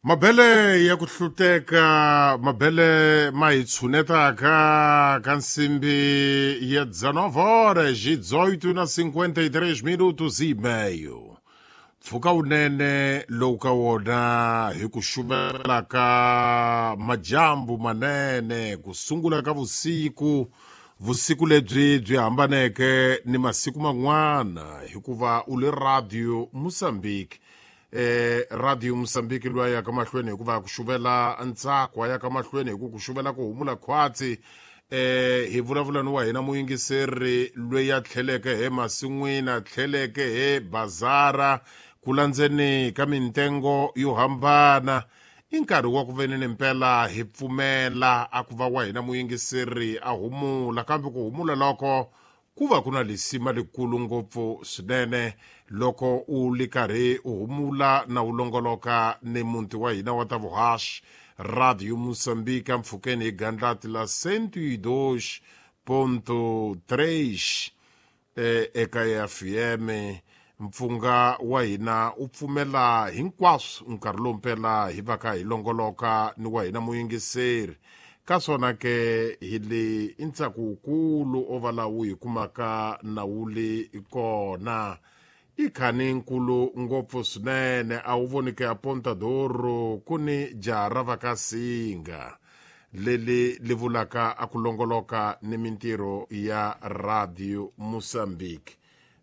Mabele ya ku hluteka, mabele ma hi tshunetaka ka nsimbi ya 19 horas 18 na 53 minutos e meio. Pfuka wunene lowu ka wona hi ku xuvela ka majambu manene ku sungula ka vusiku, vusiku lebyi byi hambaneke ni masiku man'wana hikuva u le Radio Mozambique. Radio Mozambique loyi a yaka mahlweni hikuva ku xuvela ntsako, a yaka mahlweni hi ku ku xuvela ku humula khwatsi. Hi vulavula ni wa hina muyingiseri loyi a tlheleke he masin'wini, a tlheleke he bazara ku landzeni ka mintengo yo hambana. I nkarhi wa ku veni ni mpela hi pfumela a ku va wa hina muyingiseri a humula, kambe ku humula loko ku va ku na lisima likulu ngopfu swinene loko u li karhi u humula na u longoloka ni muti wa hina wa ta vuhaxi Radio Mozambique mpfhukeni hi gandlati la 102.3 eka FM. Mpfunga wa hina u pfumela hinkwaswo nkarhi lowu mpela hi va ka hi longoloka ni wa hina muyingiseri. Ka swona ke hi le i ntsako wukulu o va lawu hi kumaka na wu li kona. I khani nkulu ngopfu swinene a wu voni ke a Pontadoro ku ni jaha ra va ka Singa leli li vulaka a ku longoloka ni mintirho ya Radio Mozambique.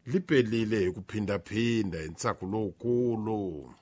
Li pelile hi ku phindaphinda hi ntsako lowukulu.